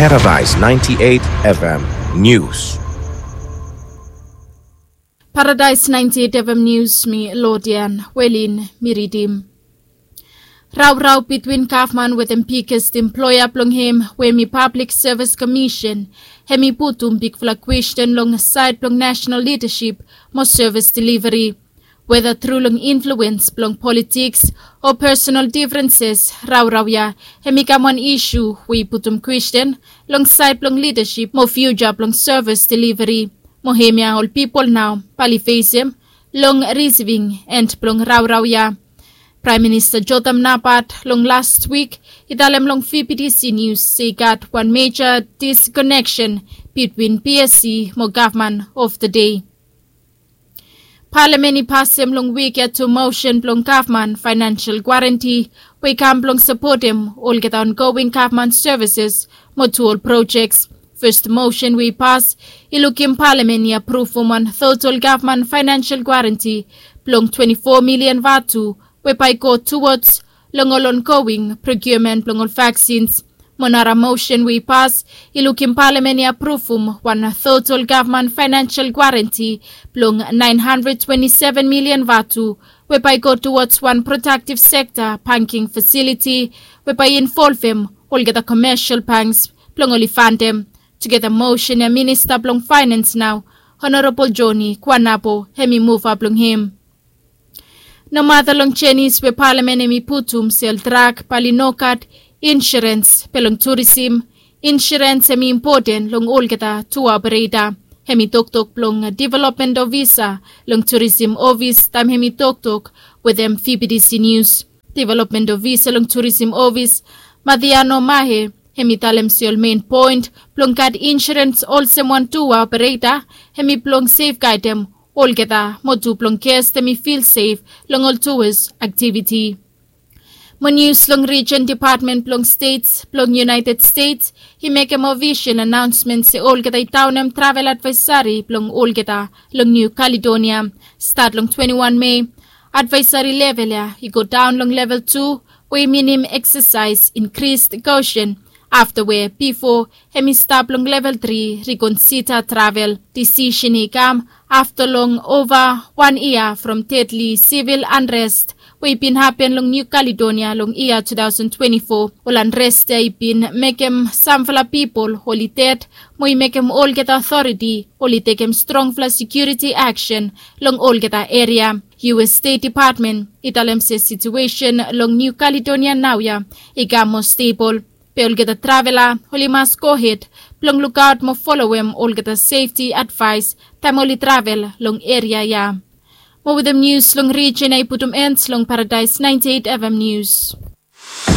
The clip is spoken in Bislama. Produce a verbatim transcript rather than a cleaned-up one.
Paradise ninety-eight F M News. Paradise ninety-eight F M News, mi Lodian Welin mi ridim. Raurau bitwin gavman wetem biggest employer blong hem we mi Public Service Commission, hem i putum bigfala kwestin long sait blong national leadership mo service delivery. Weda tru long influens blong politiks o personal differences, raurau ya hem i kam wan isu we i putum kwestin long sait blong leadership mo future blong service delivery. Mo hemia ol pipol nao bae oli fesem long receiving end blong raurau ya. Praem Minista Jotham Napat long las wik i talem long V B T C News se i gat wan meja disconnection bitwin P S C mo gavman of the day. Palamen i pasem long wik ya tu mosen blong gavman financial guarantee we i kam blong sapotem olgeta ongoing gavman services mo tu ol projects. Fes mosen we i pas i lukim palamen i apruvum wan total gavman financial guarantee blong twenty-four million vatu we bae i go towards long ol ongoing procurement blong ol vaccines. Mo nara mosen we i pas i lukim palamen i apruvum wan total gavman financial guarantee blong nine hundred twenty-seven million vatu we bae i go towards wan productive sekta banking facility we bae i involvem olgeta commercial banks blong oli fandem. Tugeta mosen ya Minista blong Finance nao, Honorable Johnny Kuanapo, hem i muva blong hem. Nomata long jenis we palamen hem i putum sel drak bae oli nogat insurens, be long turisim insurens hem i impoten long olgeta tua opereta. Hem i toktok blong development ofisa long turisim ofis taem hem i toktok wetem V B T C News. Development ofisa long turisim ofis, Mathiano Mahe, hem i talem se ol mein poen blong gat insurens olsem wan tua opereta hem i blong sefgadem olgeta mo tu blong ges hem i fil sef long ol tuas aktiviti. Mo nius long rijen depatmen blong stets blong United States i mekem ofisel anaonsmen se olgeta i daonem travel advaesari blong olgeta long Niu Kaledonia stat long twenty-one Mei. Advaesari level ya i go daon long level tu, we i minim eksasaes inkris koshen afta we bifo hem i stap long level tri ri konsida travel. Disisen i kam afta long ova wan yia from dedli sivil anrest we i bin hapen long Niu Kaledonia long yia two thousand twenty-four. Ol anrest ya i bin mekem samfala pipol oli ded mo i mekem olgeta otoriti oli tekem strongfala sekiuriti aksen long olgeta eria. U S Stet Depatmen i talem se situesen long Niu Kaledonia naoia i kam moa stebol, be olgeta travela oli mas gohed blong lukaot mo folowem olgeta sefti advaes taem oli travel long eria ya. Mo wetem nius long rijen ya i putum en long Paradise ninety-eight F M News.